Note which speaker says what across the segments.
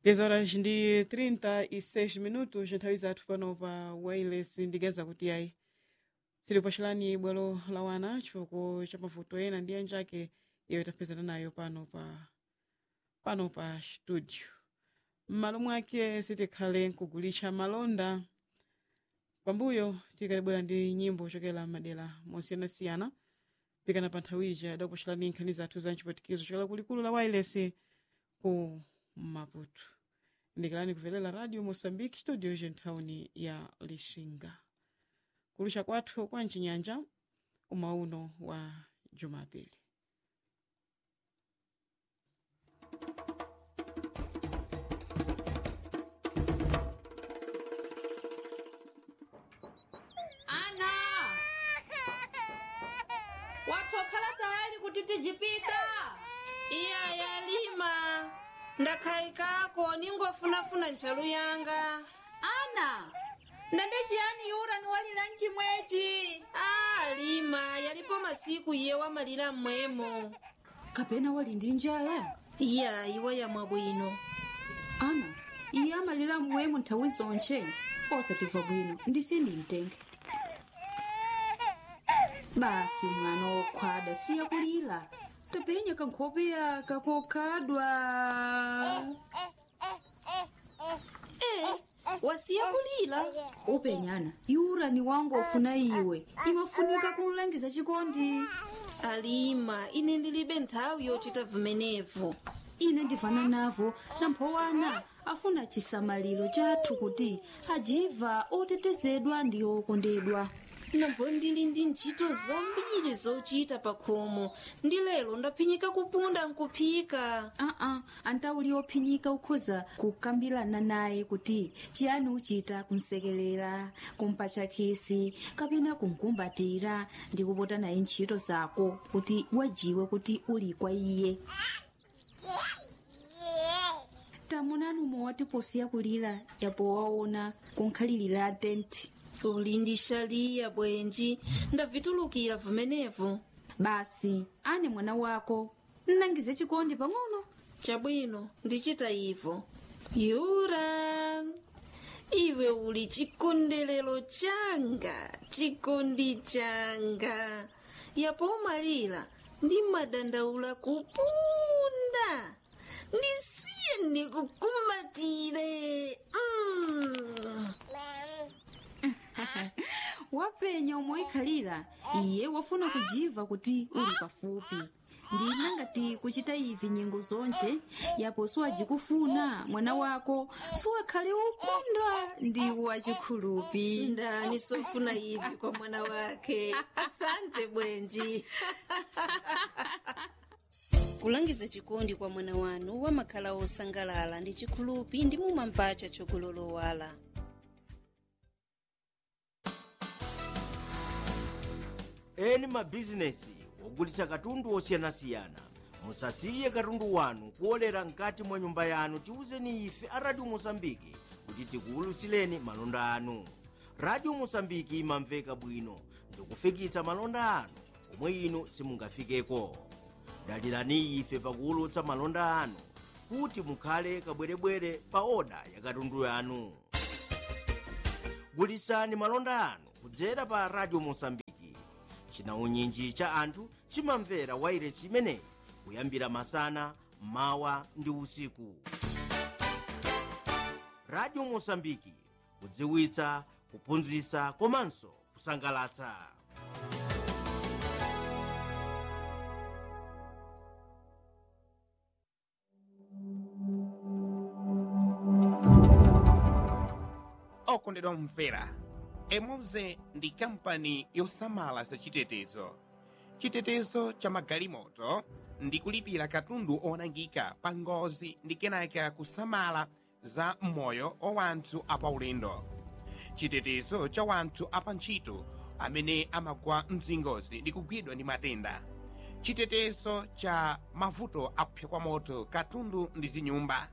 Speaker 1: 10 horas ndi 36 minutos nthawi zathu pano pa wireless ndigeza kuti ayi tilipachirani bwalo la wana chifukwa cha mavuto ena ndi anjake iyo tapezana nayo pano pa studio. M'malo mwake sitikhale nkugulisha malonda pambuyo tikalibwera ndi nyimbo chokera madera mosiyanasiyana pikana pa nthawi ija adakupachirani nkhani zathu za mchipatikizo chokera kulikulu la wireless ku Maputo. Ndikalani kuvelela Radio Moçambique, studio jenthawuni ya Lixinga, kulusha kwathu kwa mchinyanja umauno wa Jumapili.
Speaker 2: Ana, watokhala tayali kuti tijipita?
Speaker 3: Iya, yalima, ndakhayikako, ningofunafuna ntchalu yanga.
Speaker 2: Ana, ndande chiyani yura niwalira mchimwechi?
Speaker 3: A, lima, yalipo masiku iye wamalira mmwemo.
Speaker 2: Kapena wali ndi njala?
Speaker 3: Iya, iwa yamwa bwino.
Speaker 2: Ana, iye amalira mmwemo nthawi zonche, osatimva bwino ndisindimtenge. Basi mwana wokhwada, siya kulira, tapenya kankhopeya kakokhadwa.
Speaker 3: E, wasiya kulira.
Speaker 2: Upenyana yura ni wangu ofuna iwe, imafunika kumlangiza chikondi.
Speaker 3: Alima, ine ndilibe nthawi yochita vumenevu.
Speaker 2: Ine ndivana navo, namphowana afuna chisamaliro chathu kuti ajiva otetezedwa ndi okondedwa.
Speaker 3: Nambo ndili ndi ntchito zambiri zochita pa khomo, ndi lero ndaphinyika kupunda nkuphika.
Speaker 2: Aa, antauli ophinyika ukhoza kukambirana naye kuti chiyani uchita kumsekelera, kumpatcha khisi kapena kumkumbatira ndi kupota naye ntchito zako kuti wajiwe kuti uli kwa iye. Tamunani umwe posiya kulira yapo waona kunkhalirira tenti.
Speaker 3: Uli ndi shaliya bwenji, ndavitulukira vumenevu.
Speaker 2: Basi ane mwana wako nnangize chikondi pang'ono.
Speaker 3: Chabwino, ndichita ivo. Yura, iwe uli chikondelero changa, chikondi changa. Yapo umalira ndi madandaula kupunda. Ndisiye ndikukumbatire.
Speaker 2: Wapenya umoikhalira, iye wafuna kujiva kuti uli pafupi. Ndina ngati kuchita ivi nyengo zonje yapo siwajikufuna mwana wako siwakhale ukunda ndi wachikhulupi.
Speaker 3: Ndani sofuna ivi kwa mwana wake? Asante bwenji. Kulangiza chikondi kwa mwana wanu wamakhala osangalala ndi chikhulupi ndi mumampacha chokulolowala.
Speaker 4: Eni mabizinesi ogulitsa katundu osiyanasiyana, musasiye katundu wanu kuolera mkati mwa nyumba yanu. Tiwuzeni ife a Radio Mosambiki kuti tikuwulutsireni malonda anu. Radio Mosambiki imamveka bwino ndikufikitsa malonda anu omwe inu simungafikeko. Dalirani ife pakuwulutsa malonda anu kuti mukhale kabwerebwere pa oda ya katundu yanu. Gulitsani malonda anu kudzera pa Radio Mosambiki. Chinaunyinji cha anthu chimamvera wairesi imeneyi kuyambira masana, mawa ndi usiku. Radio Mosambiki, kudziwitsa, kuphunzitsa komanso kusangalatsa.
Speaker 5: Okondedwa omvera, emoze ndi kampani yosamala zachitetezo, chitetezo cha magalimoto ndi kulipira katundu onangika pa ngozi ndi kenaka kusamala za moyo wa wanthu apaulendo, chitetezo cha wanthu apantchito amene amagwa mzingozi ndi kugwidwa ndi matenda, chitetezo cha mavuto akupsa kwa moto katundu ndi zinyumba,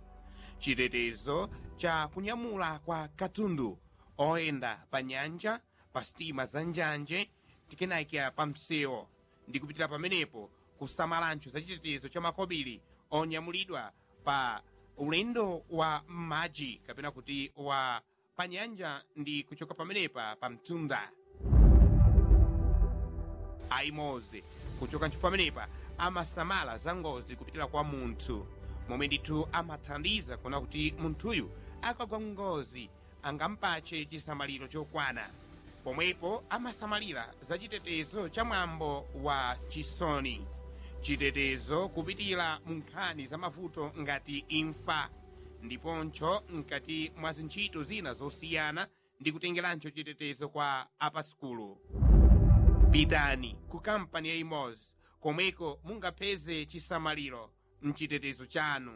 Speaker 5: chitetezo cha kunyamula kwa katundu oyenda pa nyanja, pa sitima za njanje tikenakya pa msewo, ndi kupitira pamenepo kusamalancho za chitetezo cha makobiri onyamulidwa pa Ulendo wa m'madzi kapena kuti wa panyanja ndi kuchoka pamenepa pa mtunda. Aimoze kuchoka ntcho pamenepa amasamala za ngozi kupitira kwa munthu, momwe ndithu amathandiza kuona kuti munthuyu akagwa ngozi angampache chisamaliro chokwana. Pomwepo amasamalira za chitetezo cha mwambo wa chisoni, chitetezo kupitira mu nkhani za mavuto ngati imfa, ndiponso mkati mwa zintchito zina zosiyana ndi kutengeranso chitetezo kwa apasukulu. Pitani ku kampani ya Imozi komweko mungapeze chisamaliro mchitetezo chanu.